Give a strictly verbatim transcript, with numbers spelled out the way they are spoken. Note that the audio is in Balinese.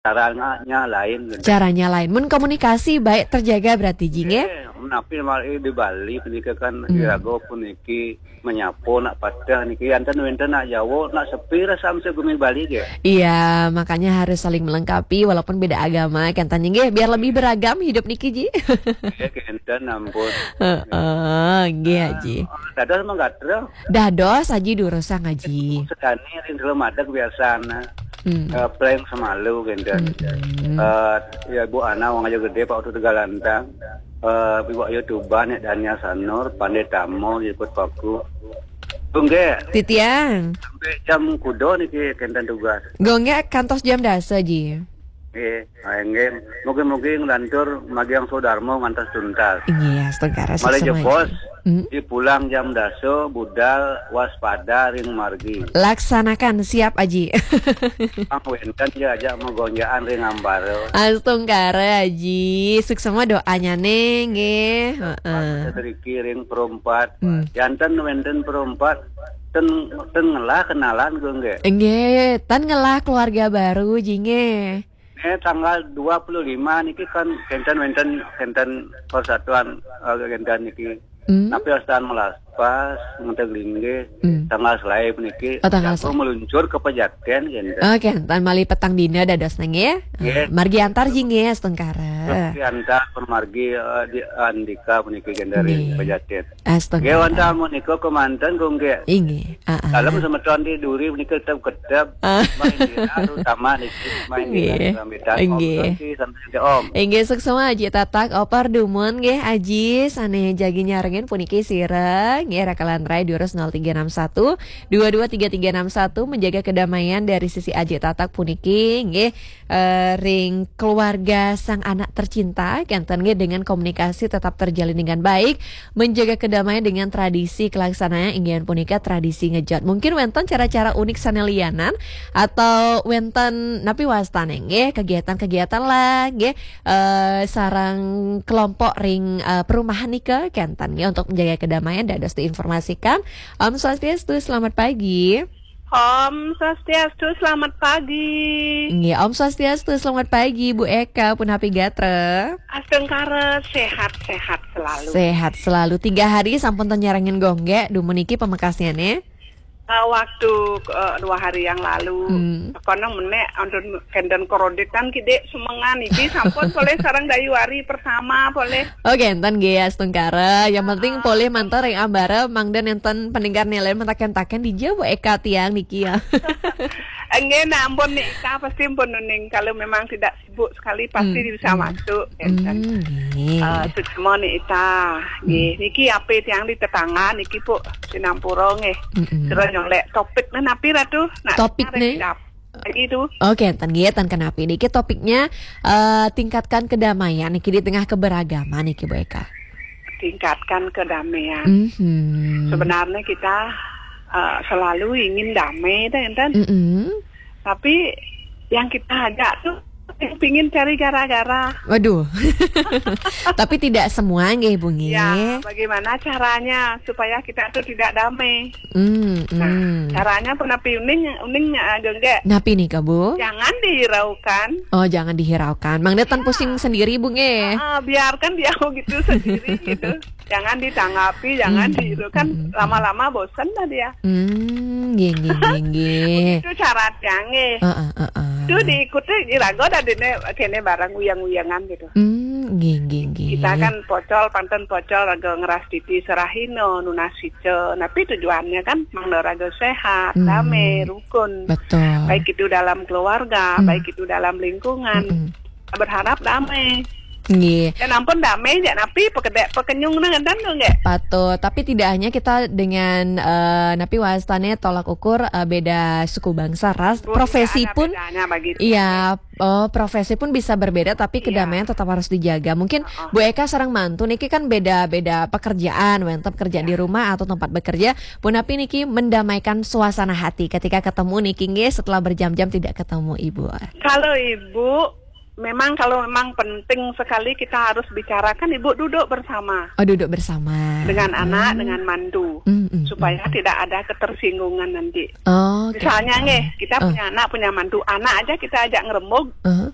caranya lain gitu. Caranya lain. Mun komunikasi baik terjaga berarti, Ji, nggih? Eh, menapi malah di Bali punika kan Hmm. iraga puniki menyapa nak pateh niki, anten wenten nak Jawa, nak sepi rasa mesti gumi Bali ge. Iya, makanya harus saling melengkapi walaupun beda agama, kan tanya nggih, biar lebih beragam hidup niki, Ji. Ya kenten ampun. Heeh, nggih, Ji. Dados mengkatra Dados, Aji, durusang, Aji. Sedani ring dalam adat kebiasaan. Hmm. Eh, playing semalu kenten. Hmm. Eh, ya Bu Ana wong aja gede Pak Utu Tegalantang. Eh, Ibu Ayu Tuban, Nek Dania Sanur, Pandai Tamo, Jiput Paku. Tungge Titiang. Sampai jam kudo niki kenten tugas. Gongge kantos jam dasa, Ji. Nggih, ah, nggih. Mugi-mugi nglantur magiang sodharma ngantos tuntas. Iya, astungkara Malih suksma, jebos, Ji. Hmm. Dipulang jam dasa budal waspada ring margi. Laksanakan, siap, Aji. Pang wenten ya aja magonjakan ring ambara. Astungkara, Aji. Suksma doanya nih, nggih. Heeh. Sedriki ring perempat. Hmm. Janten wenten perempat ten ten ngelah kenalan gue nggih. Nggih, tan ngelah keluarga baru, Ji, nggih. Eh, tanggal dua puluh lima niki kan kenten wenten kenten persatuan, eh, kenten niki. Hmm. Tapi wastan melaspas ngenteg linggih Hmm. tanggal selae puniki. Oh, tanggal Jago selae. Meluncur ke pejaten kenten. Oke, tan malih petang dina dados nang, nggih. Nggih. Margi antar, Ji, nggih, astungkara. Diantar permargi, eh, di Andika puniki kenten Nggih. pejaten. Astungkara. Nggih, wonten menika kemanten kok nggih. Inggih. Ah, ah. Dalam semeton di duri menika tetap kedap. Ah. Main dira, terutama niki main dira Nggih. sambitan. Nggih. Om, sampai Om. Inggih, suksma, Aji Tatak, Opar Dumun nggih, Aji, sane jagi nyarengin puniki sira nggih, rakalan rai durus nol tiga enam satu dua dua tiga tiga enam satu, menjaga kedamaian dari sisi Aji Tatak puniki nggih, eh, ring keluarga sang anak tercinta kenten nggih, dengan komunikasi tetap terjalin dengan baik, menjaga kedamaian dengan tradisi kelaksanaan inggih punika tradisi ngejot. Mungkin wenten cara-cara unik sane lianan atau wenten napi wastane nggih, kegiatan-kegiatan lah nggih, eh, sareng kelompok ring, eh, perumahan nika kenten nggih untuk menjaga kedamaian dados diinformasikan. Om Swastiastu, selamat pagi. Om Swastiastu, selamat pagi. Nggih, Om Swastiastu, selamat pagi Bu Eka, punapi gatra? Astungkara, sehat-sehat selalu. Sehat selalu. Tiga hari sampun ten nyarengin gongge, dumun niki pamekasnyane. Eh, waktu eh, dua hari yang lalu, Hmm. kono menek antun kenten kreditan kidik semengan iki sampun polih sareng Dayu Ari pertama polih. Oh, kenten nggih, astungkara. Yang penting polih mantar yang ambara mangda nenten peningkar nilai mentaken-taken dija Bu Eka tiang niki ya. Enggih, nah ampun nih Ika pasti pun nuning kalau memang tidak sibuk sekali pasti Hmm. bisa masuk. Kenten. Hmm, nggih. Eh, suksma nih Ita. Nggih, niki ape tiang di tetangga niki Puk sinampura nggih. Mm-mm. Sira nyolek topik nih napi Ratu? Nak Topik tarik nih. dap- Lagi tu. Oke, ten nggih, ten kenapi niki topiknya, eh, tingkatkan kedamaian niki di tengah keberagaman niki Bu Eka. Tingkatkan kedamaian. Mhm. Sebenarnya kita eh, selalu ingin damai dah enten. Mm-mm. Tapi yang kita ajak tuh yang pingin cari gara-gara. Waduh. Tapi tidak semua nggih Bu nggih. Ya, bagaimana caranya supaya kita tuh tidak damai? Hmm, Nah, hmm. Caranya punapi uning uning eh, gengge. Napi nih Kak Bu? Jangan dihiraukan. Oh, jangan dihiraukan. Mangda tan pusing sendiri Bu nggih. Ah, biarkan dia begitu sendiri gitu. Jangan ditanggapi, jangan Hmm, dihiraukan. hmm, Lama-lama bosan lah dia. Hmm, nggih nggih nggih nggih. Itu syaratnya nggih. Heeh, heeh. Itu diikuti iraga dah dene kene barang uyang-uyangan gitu. Hmm, nggih nggih nggih. Kita kan pocol, panten pocol raga ngeras titi serahino, nunas sica. Tapi tujuannya kan mangda raga sehat, Hmm. damai, rukun. Betul. Baik itu dalam keluarga, Hmm. baik itu dalam lingkungan. Mm-mm. Berharap damai. Nggih. Dan ampun damai jak napi pekedek pekenyung nang enten tu nggih. Patut, tapi tidak hanya kita dengan eh, napi wastane tolak ukur eh, beda suku bangsa, ras, Oh, profesi tidak ada pun bedanya bagi itu. Iya, oh, profesi pun bisa berbeda tapi Iya. Kedamaian tetap harus dijaga. Mungkin Heeh. Bu Eka sareng mantu niki kan beda-beda pekerjaan, wenten pekerjaan di Iya. Rumah atau tempat bekerja. Punapi niki mendamaikan suasana hati ketika ketemu niki nggih setelah berjam-jam tidak ketemu Ibu. Kalau ibu Memang kalau memang penting sekali kita harus bicarakan, Ibu duduk bersama Oh, duduk bersama. dengan anak, Hmm. dengan mantu, Hmm, hmm, supaya hmm. tidak ada ketersinggungan nanti. Oh, oke. Misalnya nggih, kita Ah. punya anak, punya mantu, anak aja kita ajak ngerembug, Ah.